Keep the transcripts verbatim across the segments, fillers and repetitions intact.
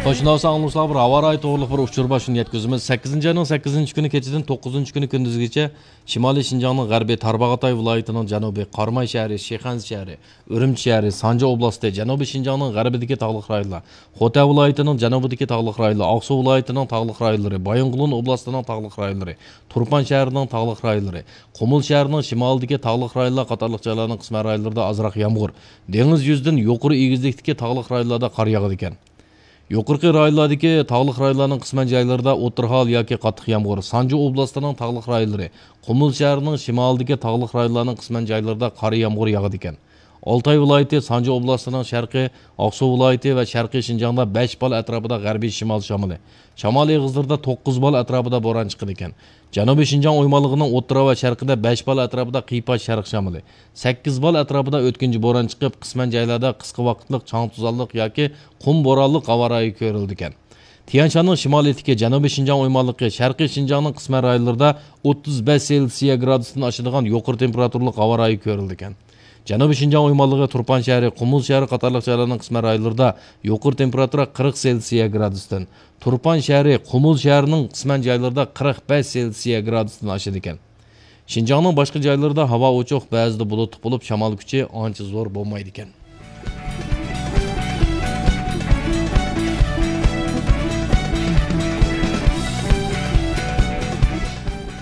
شۇنداق بولسا ئاڭلىغۇچىلارغا بىر ھاۋا رايى توغرۇلۇق بىر ئۇچۇر بار، شۇنى يەتكۈزىمىز. سەككىزىنچى ئاينىڭ سەككىزىنچى كۈنى كېچىدىن توققۇزىنچى كۈنى كۈندۈزگىچە شىمالىي شىنجاڭنىڭ غەربى، تارباغاتاي ۋىلايىتىنىڭ جەنۇبى، قاراماي شەھىرى، شىخەنزە شەھىرى، ئۈرۈمچى شەھىرى، سانجى ئوبلاستى، جەنۇبىي شىنجاڭنىڭ غەربىدىكى تاغلىق رايونلار، خوتەن ۋىلايىتىنىڭ جەنۇبىدىكى تاغلىق رايونلار، ئاقسۇ ۋىلايىتىنىڭ تاغلىق رايونلىرى، بايىنغولىن ئوبلاستىنىڭ تاغلىق رايونلىرى، تۇرپان شەھىرىنىڭ تاغلىق رايونلىرى، قۇمۇل شەھىرىنىڭ شىمالىدىكى تاغلىق رايونلار قاتارلىق جايلارنىڭ قىسمەن رايونلىرىدا ئازراق يامغۇر، دېڭىز يۈزىدىن يۇقىرى ئېگىزلىكتىكى تاغلىق رايونلاردا قار ياغىدىكەن. يۇقىرىقى رايونلاردىكى تاغلىق رايونلارنىڭ قىسمەن جايلىرىدا ئوتتۇرا ھال ياكى قاتتىق يامغۇر، سانجى ئوبلاستىنىڭ تاغلىق رايونلىرى، قۇمۇل شەھىرىنىڭ شىمالىدىكى تاغلىق رايونلارنىڭ قىسمەن جايلىرىدا قار يامغۇر ياغىدىكەن. ئالتاي ۋىلايىتى، سانجى ئوبلاستىنىڭ شەرقى، ئاقسۇ ۋىلايىتى ۋە شەرقىي شىنجاڭدا بەش بال ئەتراپىدا غەربىي شىمال شامىلى، شامال ئېغىزلىرىدا توققۇز بال ئەتراپىدا بوران چىقىدىكەن. جەنۇبىي شىنجاڭ ئويمانلىقىنىڭ ئوتتۇرا ۋە شەرقىدە بەش بال ئەتراپىدا قىيپاش شەرق شامىلى، سەككىز بال ئەتراپىدا ئۆتكۈنچى بوران چىقىپ، قىسمەن جايلاردا قىسقا ۋاقىتلىق چاڭ توزانلىق ياكى قۇم بورانلىق ھاۋا رايى كۆرۈلىدىكەن. تيەنشاننىڭ شىمالىيىتىكى جەنۇبىي شىنجاڭ ئويمانلىقى، شەرقىي شىنجاڭنىڭ قىسمەن رايونلىرىدا ئوتتۇز بەش سېلسىيە گرادۇستىن ئاشىدىغان يۇقىرى تېمپېراتۇرىلىق ھاۋا رايى كۆرۈلىدىكەن. جەنۇبىي شىنجاڭ ئويمانلىقى، تۇرپان شەھىرى، قۇمۇل شەھىرى قاتارلىق جايلارنىڭ قىسمەن رايونلىرىدا يۇقىرى تېمپېراتۇرا قىرىق سېلسىيە گرادۇستىن، تۇرپان شەھىرى، قۇمۇل شەھىرىنىڭ قىسمەن جايلىرىدا قىرىق بەش سېلسىيە گرادۇستىن ئاشىدىكەن. شىنجاڭنىڭ باشقا جايلىرىدا ھاۋا ئوچۇق، بەزىدە بۇلۇتلۇق بولۇپ، شامال كۈچى ئانچە زور بولمايدىكەن.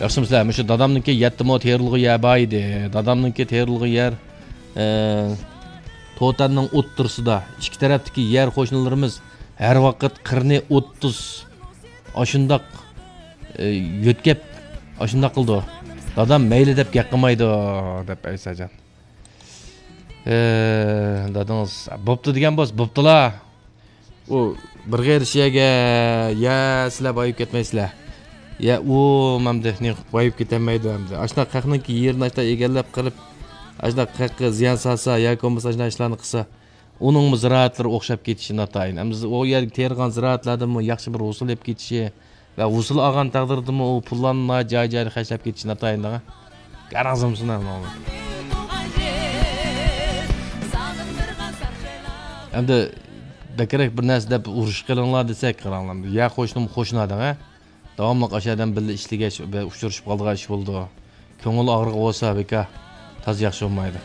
ياخشىمۇسىلەر؟ مۇشۇ دادامنىڭكى يەتتە مو تېرىلغۇ يەر بار ئىدى. دادامنىڭكى تېرىلغۇ يەر، ئە، توتەننىڭ ئوتتۇرىسىدا. ئىككى تەرەپتىكى يەر قوشنىلىرىمىز ھەر ۋاقىت قىرنى ئوتتۇز ئاشۇنداق، ئە، يۆتكەپ، ئاشۇنداق قىلىدۇ. دادام مەيلى دەپ گەپ قىلمايدۇ، دەپ ئەيساجان. ئە، دادىڭىز بوپتۇ دېگەن بولسا، بوپتۇلا. ئۇ بىر غېرىش يەرگە، يە سىلەر بايىپ كەتمەيسىلەر. يە ئۇ ئەمدى نېمە قىلىپ بايىپ كېتەلمەيدۇ ئەمدى. ئاشۇنداق خەقنىڭكى يېرىنى ئاشۇنداق ئىگىلەپ قىلىپ، ئاشۇنداق خەققە زىيان سالسا ياكى بولمىسا ئاشۇنداق ئىشلارنى قىلسا، ئۇنىڭمۇ زىرائەتلىرى ئوخشاپ كېتىشى ناتايىن. ئەمدى ئۇ يەرگە تېرىغان زىرائەتلەردىنمۇ ياخشى بىر ھوسۇل ئېلىپ كېتىشى ۋە ھوسۇل ئالغان تەقدىردىمۇ ئۇ پۇللارنى جاي-جايىدا خەجلەپ كېتىشى ناتايىن دەڭە. قاراڭزىمسىنا. ئەمدى بەكرەك بىر نەرسە دەپ ئۇرۇشۇپ قېلىڭلار دېسەك، قاراڭلار. يا قوشنىمۇ قوشنا دەڭە. داۋاملىق ئاشۇ ئادەم بىللە ئىشلىگەچ، بە-، ئۇچرىشىپ قالىدىغان ئىش بولىدۇ. كۆڭۈل ئاغرىقى بولسا، بىكار، تازا ياخشى بولمايدۇ.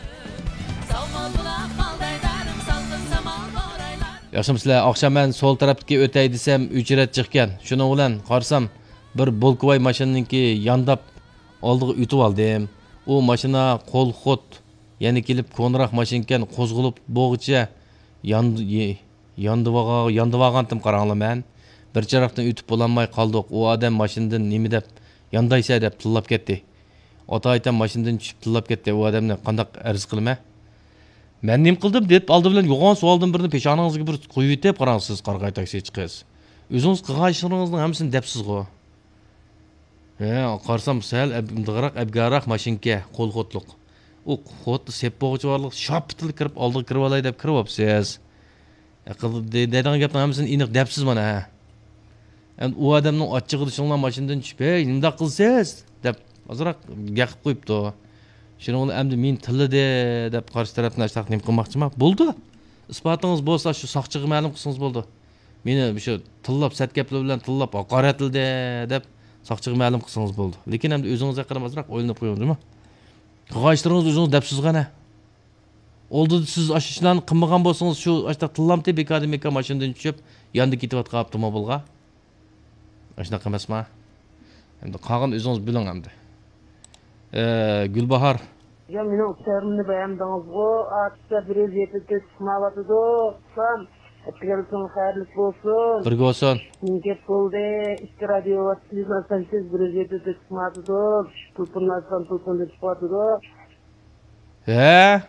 ياخشىمۇسىلەر؟ ئاخشام مەن سول تەرەپتىكى ئۆتەي دېسەم، ئۆچرەت جىقكەن. شۇنىڭ بىلەن قارىسام، بىر بولكىۋاي ماشىنىنىڭكى يانداپ ئالدىغا ئۆتۈۋالدىم. ئۇ ماشىنا قول خوت، يەنە كېلىپ كونىراق ماشىنىكەن، قوزغىلىپ بولغۇچە ياند-، يې-، ياندىۋاغا-، ياندىۋالغانتىم قاراڭلار مەن. بىر چىراغدىن ئۆتۈپ بولالماي قالدۇق. ئۇ ئادەم ماشىنىدىن نېمە دەپ ياندايسەن دەپ تىللاپ كەتتى. ئاتايتەم ماشىنىدىن چۈشۈپ تىللاپ كەتتى. ئۇ ئادەمنى قانداق ئەرز قىلىمەن؟ مەن نېمە قىلدىم دەپ ئالدى بىلەن يوغان سوئالدىن بىرنى پېشانىڭىزغا بىر قويۇۋېتىپ قاراڭ سىز، قارىغاي تاكسىچى قىز. ئۆزىڭىز قىلغان ئىشلىرىڭىزنىڭ ھەممىسىنى دەپسىزغۇ. ھە، قارىسام سەل ئەب-، ئىندىغراق، ئەبگەراق ماشىنىكەن، قول خوتلۇق. ئۇ خوتنى سېپ بولغۇچە بارلىق شاپپىتىلا كىرىپ، ئالدىغا كىرىۋالاي دەپ كىرىۋاپسىز. ئەقىل دە-، دەيدىغان گەپنىڭ ھەممىسىنى ئېنىق دەپسىز مانا، ھە. ئەمدى ئۇ ئادەمنىڭ ئاچچىقىدا شۇڭلار ماشىنىدىن چۈشۈپ، «ھەي، نېمىنداق قىلىسىز؟» دەپ ئازراق گەقىپ قويۇپتۇ. شۇنىڭ بىلەن ئەمدى مېنى تىللىدى دەپ قارشى تەرەپتىن ئاشتاق نېمە قىلماقچىما؟ بولدى. ئىسپاتىڭىز بولسا شۇ ساقچىغا مەلۇم قىلسىڭىز بولدى. مېنى شۇ تىللاپ، سەت گەپلەر بىلەن تىللاپ، ھاقارەتلىدى دەپ ساقچىغا مەلۇم قىلسىڭىز بولدى. لېكىن ئەمدى ئۆزىڭىز ھەققىدە ئازراق ئويلىنىپ قويۇڭ، جۇمۇ. قىلغان ئىشلىرىڭىزنى ئۆزىڭىز دەپسىزغۇ ئەنە. ئالدىدا سىز ئاشۇ ئىشلارنى قىلمىغان بولسىڭىز، شۇ ئاشۇنداق تىللامتى بىكاردىن بىكار ماشىنىدىن چۈشۈپ، ياندا كېتىۋاتقان ئاپتوموبىلغا. ئاشۇنداق ئەمەسما؟ ئەمدى قالغان ئۆزىڭىز بىلىڭ ئەمدى. ئە، گۈلباھار. يا مېنىڭ ئۇچۇرۇمنى بەيەندىڭىزغۇ، ئارتىسلار بىر يۈز يەتتە تۆت چىقمايۋاتىدۇ. ئۇكام، ئەتىگەنلىكىڭ خەيرلىك بولسۇن. بىرگە بولسۇن. نېمە گەپ بولدى؟ ئىككى رادىيو ۋاسىتىسىدىن ئاشۇنداق بىر يۈز يەتتە تۆت چىقمايۋاتىدۇ. تېلېفوننى ئاچقان تېلېفوندىن چىقىۋاتىدۇ. ھە؟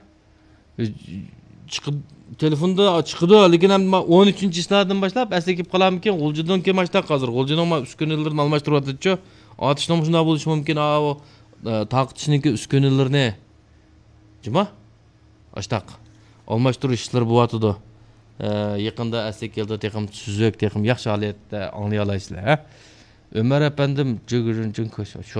چىقىد-، تېلېفوندا چىقىدۇ، لېكىن ئەمدى مانا ئون ئۈچىنچى چىسلادىن باشلاپ ئەسلىگە كېلىپ قالارمىكىن؟ غۇلجىدىن كېيىن ئاشتاق ھازىر. غۇلجىنىڭ مانا ئۈسكۈنىلىرىنى ئالماشتۇرۇۋاتىدۇچۇ. ئاتۇشنىڭمۇ شۇنداق بولۇشى مۇمكىن. ئاۋۇ، ئە، تارقىتىشنىڭكى ئۈسكۈنىلىرىنى. جۇما؟ ئاشتاق. ئالماشتۇرۇش ئىشلىرى بولۇۋاتىدۇ. ئە، يېقىندا ئەسلىگە كېلىدۇ، تېخىمۇ سۈزۈك، تېخىمۇ ياخشى ھالەتتە ئاڭلىيالايسىلەر، ھە؟ ئۆمەر ئەپەندىم، جىگىرىن جىڭ كۆش-، شۇ